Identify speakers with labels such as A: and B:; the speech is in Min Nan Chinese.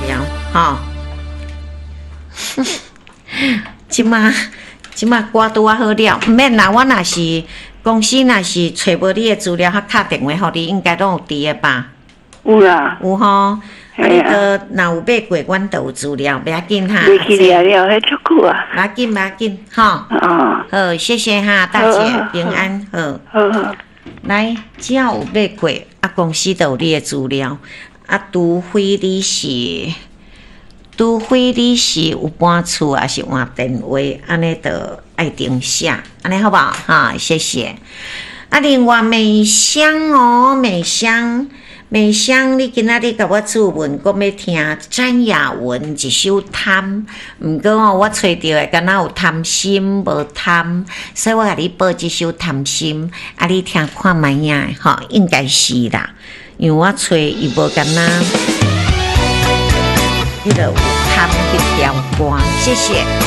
A: 料，吼。這馬這馬歌拄仔好了，毋免啦。我若是公司若是揣無你的資料，較敲電話予你，應該攏有佇的吧？
B: 有啦。
A: 有吼。啊，你閣若有買過，阮就有資料，袂要緊哈。
B: 袂記得了，彼足久啊。
A: 袂要緊，袂要緊，吼。
B: 哦。
A: 好，謝謝哈，大姐平安，好。
B: 好好。
A: 來，只要有買過，啊，公司就有你的資料，啊，除非你是有搬厝，抑是換電話，按呢就愛重寫，按呢好無？哈，謝謝。啊，另外美香哦，美香，美香，你今仔日共我諮問，講欲聽詹雅雯一首《貪》，毋過哦，我揣著的敢若有貪心無貪，所以我共你報這首《貪心》，啊，你聽看覓仔吼，應該是啦，因為我揣伊無敢若，彼个有貪彼條歌，謝謝。